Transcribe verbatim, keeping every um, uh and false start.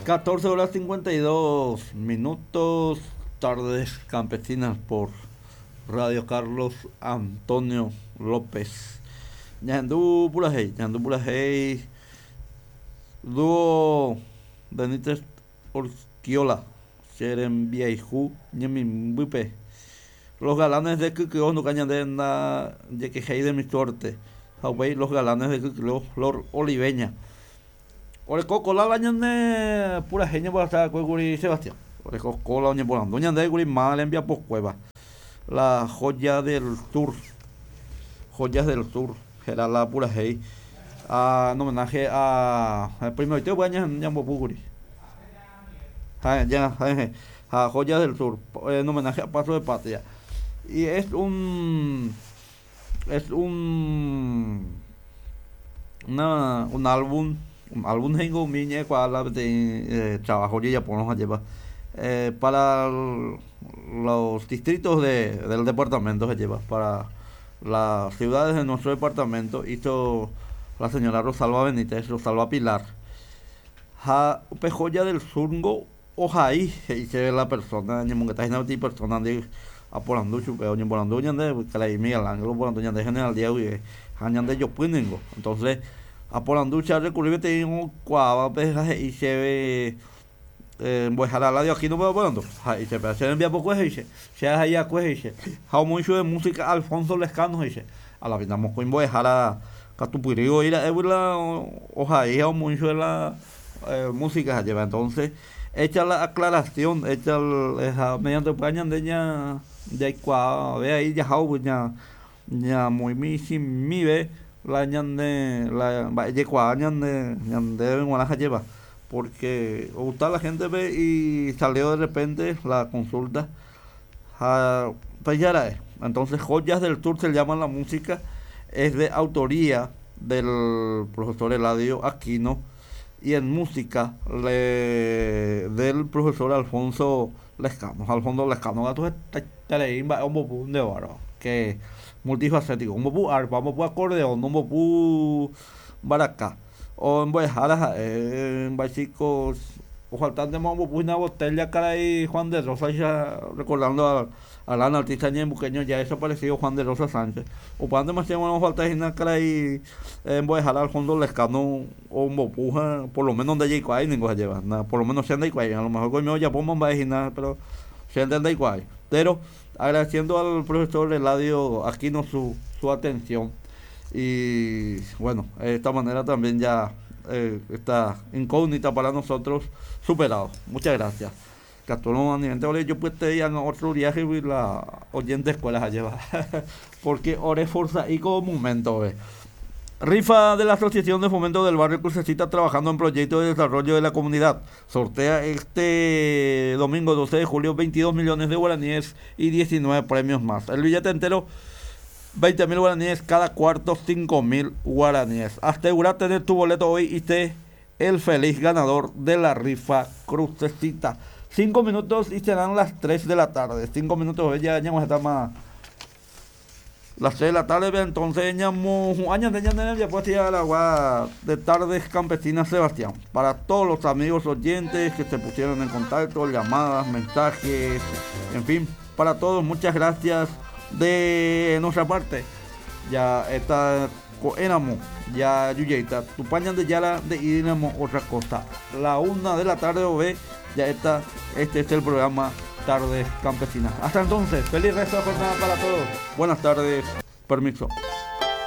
catorce horas cincuenta y dos minutos, tardes campesinas por Radio Carlos Antonio López. Ñandú Purajey, Ñandú Purajey, dúo Benítez Orquiola, Serembiaijú, Ñemimbupe. Los galanes de Kikio, no cañan de na, de que de mi suerte. Hawái, los galanes de Kikio, Flor Oliveña. Oreco la ñande pura genia para estar con Sebastián. Oreco cola oñe por ando ñande guri mal envía por cueva. La joya del sur. Joyas del sur. Era la pura gei. Ah, en homenaje a el primero te voy a ñambo puguri. Ja, ya, ja, a Joyas del Sur, en homenaje a Paso de Patria. Y es un es un una, un álbum un álbum tengo miñe cual de eh, trabajo ya por nos lleva eh, para los distritos de, del departamento se lleva para las ciudades de nuestro departamento. Hizo la señora Rosalba Benítez, Rosalba Pilar. Ja, Joya del Surgo ojaí se ve la persona ñemongueta hína peteĩ persona ndi aporandu chupe oñeporandu ñande karai Miguel Ángel oporandu ñande General Díaz guive ha ñande jopy ningo. Entonces aporandu che recurrí peteĩ oikuaávape ha he'i chéve eh, mbo'ehára Eladio Aquino pe oporandu ha he'i chépe che rembiapokue he'i che che ahai'akue he'i che ha omoĩ chupe música Alfonso Lescano he'i che a la vida mokõi mbo'ehára katupyry oĩra'égui la ohai ha omoĩ chupe la eh, música lleva. Entonces hecha la aclaración, hecha el, mediante ñande ña yaikuaa ahí yajau ña ña moimi la ñande la mba'e ñande ñande g̃uarã lleva porque gusta la gente ve y salió de repente la consulta ja, pues. Entonces Joyas del Sur se llama la música, es de autoría del profesor Eladio Aquino y en música le, del profesor Alfonso Lescano. Alfonso Lescano, gato que multifacético, un arpa, un acordeón, un baracá, o en Boejara, en Bachicos, o faltando más una botella cara y Juan de Rosa, ya recordando al al gran artista ñembuqueño ya desaparecido Juan de Rosa Sánchez. O para demasiado no falta una cara y en Boejara Alfonso Lescano o un bopuja, por lo menos donde hay ninguno se lleva, nada, por lo menos se anda igual, a lo mejor coño ya pongo en pero se anda igual. Pero agradeciendo al profesor Eladio Aquino su, su atención y bueno, de esta manera también ya eh, esta incógnita para nosotros superado. Muchas gracias. Yo pues te en otro viaje y la oyente escuela se lleva porque ore forza y como momento ve. Rifa de la Asociación de Fomento del Barrio Crucecita trabajando en proyectos de desarrollo de la comunidad. Sortea este domingo doce de julio veintidós millones de guaraníes y diecinueve premios más. El billete entero veinte mil guaraníes, cada cuarto cinco mil guaraníes. Asegura tener tu boleto hoy y sé el feliz ganador de la rifa Crucecita. Cinco minutos y serán las tres de la tarde. Cinco minutos, ya ya está más. Las tres de la tarde, entonces ya pues ya la agua de Tardes Campesinas Sebastián. Para todos los amigos oyentes que se pusieron en contacto, llamadas, mensajes, en fin, para todos, muchas gracias de nuestra parte. Ya está éramos, ya Yuyeita, tu pañan de Yala de iremos otra cosa. La una de la tarde o ve, ya está, este es el programa Tardes Campesinas. Hasta entonces, feliz resto de jornada para todos. Buenas tardes, permiso.